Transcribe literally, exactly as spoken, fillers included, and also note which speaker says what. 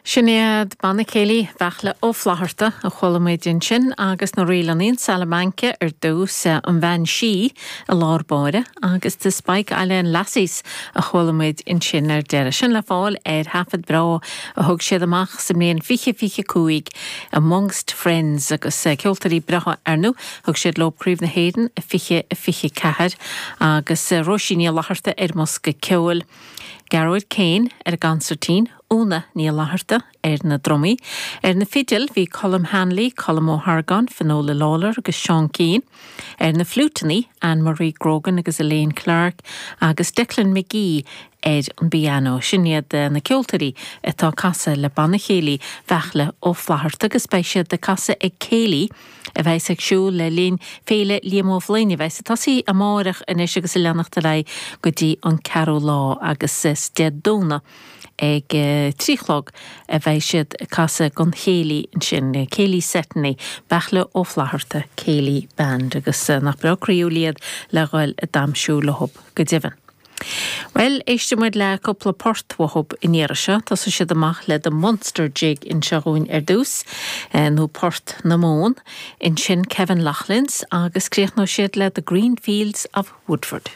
Speaker 1: Sin iad Banna Céilí Bheartla Ó Flatharta a chuala muid ansin agus na ríleanna Salamanca ar dtús an Bhean Sí i lár báire agus The Spike Island Lassies a chuala muid ansin ar deireadh. Sin le fáil ar thaifead breá a thug siad amach sa mbliain fiche fiche cúig Amongst Friends agus ceoltóirí breátha ar ndóigh thug siad leo Craobh na hÉireann a fiche a fiche ceathair agus Róisín Ní Fhlatharta ar an mbosca ceoil. Gearóid Kane ar an gconsairtín, Úna Ní Fhlatharta ar na drumaí. Ar na fidil bhí Colm Hanley, Colm Ó hArgáin, Finola Lawler agus Seán Keane. Ar na fliúiteanna Anne-Marie Grogan agus Elaine Clark agus Declan McGee ar an bpianó. Sin iad na ceoltóirí atá ag casadh le Banna Céilí Bheartla Ó Flatharta agus beidh siad ag casadh ag céilí a bheas ar siúl le linn Féile Liam Ó Floinn a bheas ag tosaí amárach anois agus ag leanacht ar aghaidh go dtí an ceathrú lá agus is Dé Domhnaigh ag trí chlog a bheidh siad ag casadh don chéilí ansin Céilí Setney, Beartla Ó Flatharta Céilí Band agus nach breá croíúil iad le dhul ag damhsa leo go deimhin. Well, éistfidh muid le cúpla port uathu an iarraidh seo, Tosóidh siad amach le The Munster Jig anseo dhúinn ar dtús, nó Port na Móna, ansin Kevin Loughlin's agus críochnóidh siad le The Green Fields of Woodford.